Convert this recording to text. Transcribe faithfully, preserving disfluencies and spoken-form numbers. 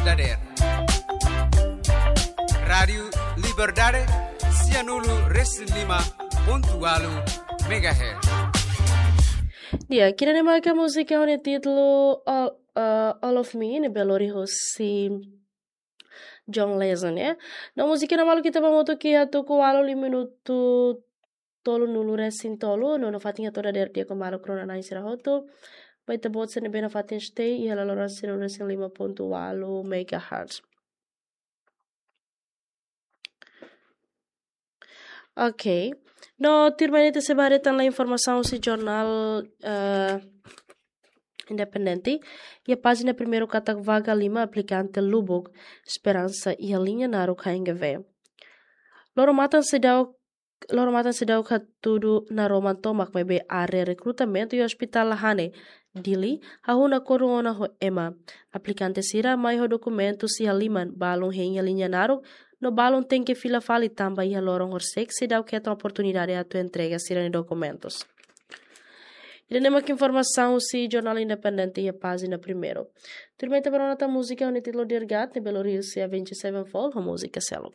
Dader. Rádiu Liberdade, sianulu resin lima pontu walu megahertz. Dia, kira ne maka múzika ho nia títulu All, eh, All of Me, ne'ebé lori husi John Legend, ya. No múzika ne'e malu ita ba moto ki hatu ku walu li minutu tolunulu resin tolu, no nafatin atu dader di'ak ho maluk rona-na'in sira hotu. Ba ita-boot sira ne'ebé nafatin stay iha laloran sianulu resin lima pontu walu megahertz. Ok. No, tuirmai ita sei ba haree tan la informasaun husi jornál, eh, Independente. Iha pájina primeiru katak vaga lima aplikante lubuk esperansa iha liña naruk H N G V. Loro-matan seidauk, loro-matan seidauk hatudu naroman tomak maibé área rekrutamentu iha Hospital Lahane, Dili, hahú nakonu ona ho ema. Aplikante sira mai ho dokumentus iha liman, balun hein iha liña naruk, no balun tenke fila fali tanba iha loron horisehik seidauk hetan oportunidade atu entrega sira-nia dokumentus. Ida-ne'e mak informasaun husi jornál Independente iha pájina primeiru. Tuirmai ita ba rona tan múzika ho nia títulu Dear God, ne'ebé lori husi Avenged Sevenfold, ho múzika seluk.